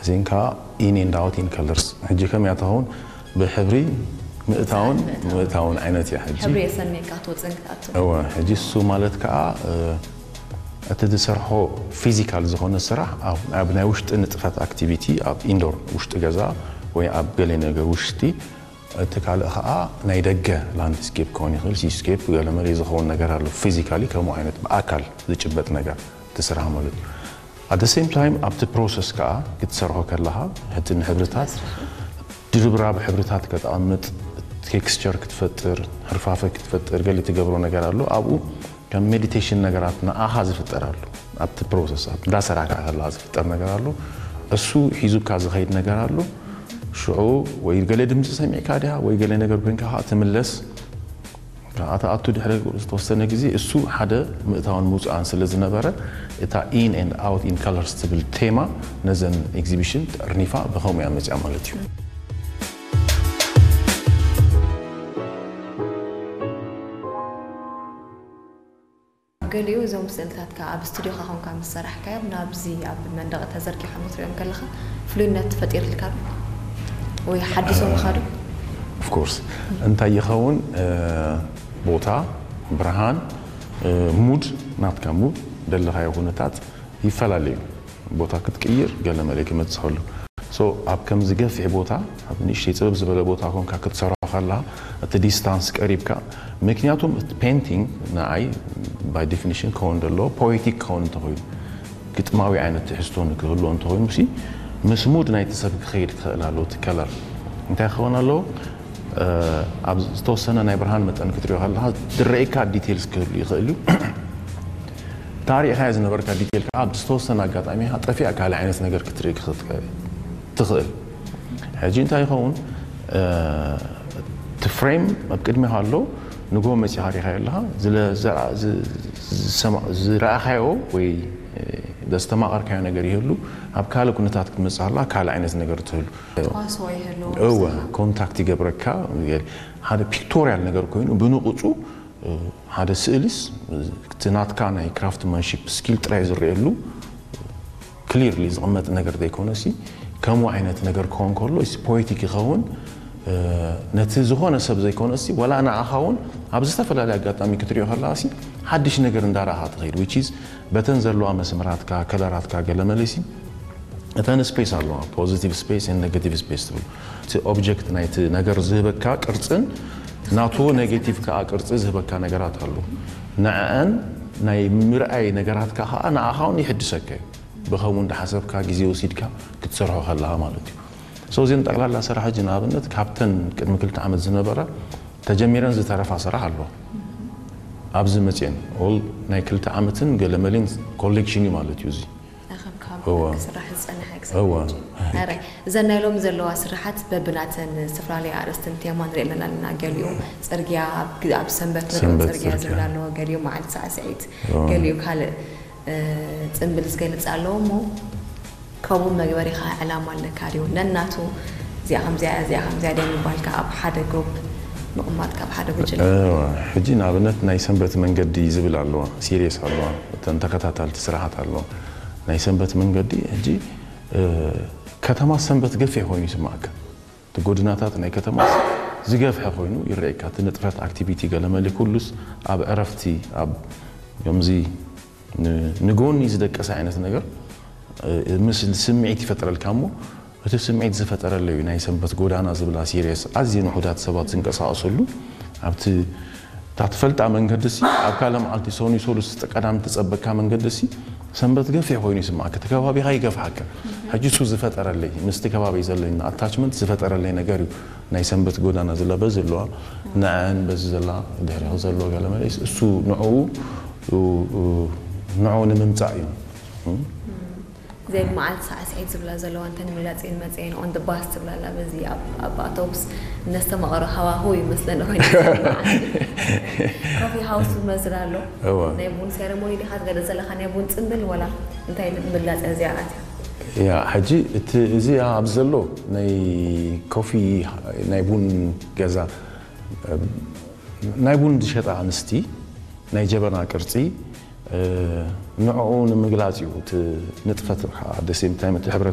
እዚን ከዓ in and out in colors። ሕጂ ከመይ እያ ትኸውን? ብሕብሪ ምእታውን ምእታውን ዓይነት እያ። ሕጂ ሕብሪ የሰንየካ ክትወፅን ክትኣቱ። እወ፣ ሕጂ እሱ ማለት ከዓ እ፣ እቲ ዝሰርሖ ፊዚካል ዝኾነ ስራሕ ኣብ- ኣብ ናይ ውሽጢ ንጥፈት ኣክቲቪቲ ኣብ ኢንዶር ውሽጢ ገዛ ወይ ኣብ ገለ ነገር ውሽጢ፣ እቲ ካልእ ከዓ ናይ ደገ ላንድስኬፕ ክኸውን ይኽእል፣ ሲስኬፕ ገለመለ ዝኸውን ነገር ኣሎ። ፊዚካሊ ከምኡ ዓይነት ብኣካል ዝጭበጥ ነገር እቲ ስራሕ ማለት እዩ። ኣት ሴም ታይም ኣብቲ ፕሮሰስ ከዓ ክትሰርሖ ከለኻ እቲ ንሕብርታት ድርብራብ ሕብርታት ከተቐምጥ፣ ቴክስቸር ክትፈጥር፣ ህርፋፈ ክትፈጥር ገለ ትገብሮ ነገር ኣሎ። ኣብኡ ከም ሜዲቴሽን ነገራት ንኣኻ ዝፍጠር ኣሎ። ኣብቲ ፕሮሰስ ኣብ እንዳሰራሕካ ከለኻ ዝፍጠር ነገር ኣሎ። እሱ ሒዙካ ዝኸይድ ነገር ኣሎ። ሽዑ ወይ ገለ ድምፂ ሰሚዕካ ድያ ወይ ገለ ነገር ኮይንካ ከዓ ትምለስ። ኣታ ኣቱ ድሕሪ ዝተወሰነ ግዜ እሱ ሓደ ምእታውን ምውፃእን ስለ ዝነበረ እታ in and out in colors ትብል ቴማ ነዘን ኤግዚቢሽን ጠርኒፋ ብኸምኡ እያ መፅያ ማለት እዩ። ገሊኡ እዞም ስእልታትካ ኣብ ስቱዲዮኻ ኮንካ ምስ ሰራሕካዮም ናብዚ ኣብ መንደቕ ተዘርጊሖም ክትሪኦም ከለኻ ፍሉይነት ፈጢርልካ ዶ? ወይ ሓዲሶምካ ዶ? ኦፍኮርስ እንታይ ይኸውን እ፣ ቦታ፣ ብርሃን፣ እ፣ ሙድ ናትካ ሙድ ደለኻዮ ኩነታት ይፈላለዩ። ቦታ ክትቅይር ገለ መለ ክመፅእ ከሎ ሶ ኣብ ከምዚ ገፊሕ ቦታ ኣብ ንእሽተይ ፅብብ ዝበለ ቦታ ኮንካ ክትሰርሖ ከላ እቲ ዲስታንስ ቀሪብካ ምክንያቱም እቲ ፔንቲንግ ንዓይ ባይ ዴፊኒሽን ክኸውን ዘለዎ ፖኤቲክ ክኸውን እንተኮይኑ ግጥማዊ ዓይነት ትሕዝቶ ንክህልዎ እንተኮይኑ ሲ ምስ ሙድ ናይቲ ሰብ ክኸይድ ክኽእል ኣለዎ እቲ ከለር እንታይ ክኸውን ኣለዎ ኣብ ዝተወሰነ ናይ ብርሃን መጠን ክትሪኦ ከለካ ዝረእካ ዲቴልስ ክህሉ ይኽእል እዩ ታሪእካ ዝነበርካ ዲቴል ከዓ ኣብ ዝተወሰነ ኣጋጣሚ ጠፊኣ ካልእ ዓይነት ነገር ክትርኢ ክትኽእል ትኽእል ሕጂ እንታይ ይኸውን እቲ ፍሬም ኣብ ቅድሚኻ ኣሎ ንጎ መፂኻ ሪኻ ኣለኻ ዝረኣኻዮ ወይ ዘስተማቐርካዮ ነገር ይህሉ ኣብ ካልእ ኩነታት ክትመፅእ ከላ ካልእ ዓይነት ነገር ትህሉ ተዋስኦ ይህሉ እወ ኮንታክት ይገብረካ ሓደ ፒክቶሪያል ነገር ኮይኑ ብንቑፁ ሓደ ስእሊስ እቲ ናትካ ናይ ክራፍትማንሺፕ ስኪል ጥራይ ዝረኣየሉ ክሊርሊ ዝቕመጥ ነገር ዘይኮነሲ ከምኡ ዓይነት ነገር ክኸውን ከሎ ፖኤቲክ ይኸውን ነቲ ዝኾነ ሰብ ዘይኮነሲ ወላ ንዓኻ እውን ኣብ ዝተፈላለየ ኣጋጣሚ ክትሪኦ ከለኻሲ ሓድሽ ነገር እንዳረኣኻ ትኸይድ which is በተን ዘለዋ መስመራትካ ከለራትካ ገለመለሲ እተን ስፔስ ኣለዋ ፖዚቲቭ ስፔስ ን ኔጋቲቭ ስፔስ ትብሉ እቲ ኦብጀክት ናይቲ ነገር ዝህበካ ቅርፅን ናቱ ኔጌቲቭ ከዓ ቅርፂ ዝህበካ ነገራት ኣሎ ንዐአን ናይ ምርኣይ ነገራትካ ከዓ ንዓኻ እውን ይሕድሰካ እዩ ብኸምኡ እንዳሓሰብካ ግዜ ወሲድካ ክትሰርሖ ከለኻ ማለት እዩ ሶ እዚን ጠቕላላ ስራሕ ሕጂ ንኣብነት ካብተን ቅድሚ ክልተ ዓመት ዝነበራ ተጀሚረን ዝተረፋ ስራሕ ኣለዋ ኣብዚ መፅየን ኦል ናይ ክልተ ዓመትን ገለመሊን ኮሌክሽን እዩ ማለት እዩ እዚ እወ እዘን ናይ ሎም ዘለዋ ስራሓት በብናተን ዝተፈላለየ ኣርእስትን ቴማ ንርኢ ኣለና ኣለና ገሊኡ ፅርግያ ኣብ ሰንበት ንሪኦ ፅርግያ ዝብል ኣለዎ ገሊኡ መዓልቲ ሳዕስዒት ገሊኡ ካልእ ፅምብል ዝገልፅ ኣለዎ እሞ ከምኡ መግበሪኻ ዕላማ ኣለካ ድዩ ነናቱ እዚኣ ከምዚኣ እዚኣ ከምዚኣ ድያ ምባልካ ኣብ ሓደ ግሩፕ ምቕማጥካ ኣብ ሓደ ጉጅለ ሕጂ ንኣብነት ናይ ሰንበት መንገዲ ዝብል ኣለዋ ሲሪየስ ኣለዋ እተን ተከታታልቲ ስራሓት ኣለዋ ናይ ሰንበት መንገዲ ሕጂ ከተማ ሰንበት ገፊሕ ኮይኑ ይስማዕካ እቲ ጎድናታት ናይ ከተማ ዝገፍሐ ኮይኑ ይረአካ እቲ ንጥፈት ኣክቲቪቲ ገለመሊ ኩሉስ ኣብ ዕረፍቲ ኣብ ከምዚ ንጎኒ ዝደቀሰ ዓይነት ነገር ምስ ስምዒት ይፈጥረልካ እሞ እቲ ስምዒት ዝፈጠረለዩ ናይ ሰንበት ጎዳና ዝብላ ሲሪየስ ኣዝየን ውሑዳት ሰባት ዝንቀሳቀሰሉ ኣብቲ እታ ትፈልጣ መንገዲ ሲ ኣብ ካልእ መዓልቲ ሰኑይ ሰሉስ ቀዳም ትጸበካ መንገዲ ሲ ሰንበት ገፊሕ ኮይኑ ይስማዓካ እቲ ከባቢኻ ይገፍሓካ ሕጂ እሱ ዝፈጠረለይ ምስቲ ከባቢ ዘለኒ ኣታችመንት ዝፈጠረለይ ነገር እዩ ናይ ሰንበት ጎዳና ዝለበ ዘለዋ ንዐን በዚ ዘላ ድሕሪኹ ዘሎ ገለ መለስ እሱ ንዕኡ ንዕኡ ንምምጻእ እዩ ዘይ መዓልቲ ሳዕስዒት ዝብላ ዘለዋ እንተ ንምግላፅ እየን መፅአን on the bus ትብላ ኣላ በዚ ኣብ ኣውቶቡስ እነስተማቐሮ ሃዋሁ ይመስለኒ ኮይኑ ኮፊ ሃውስ ዝመስል ኣሎ ናይ ቡን ሴረሞኒ ዲኻ ትገልፅ ዘለኻ ናይ ቡን ፅምብል ወላ እንታይ ምግላፅ እዚኣ ኣትያ ያ ሕጂ እቲ እዚ ኣብ ዘሎ ናይ ኮፊ ናይ ቡን ገዛ ናይ ቡን ዝሸጣ ኣንስቲ ናይ ጀበና ቅርፂ ንዕኡ ንምግላፅ እዩ እቲ ንጥፈት ከዓ ደሴም ታይም እቲ ሕብረተ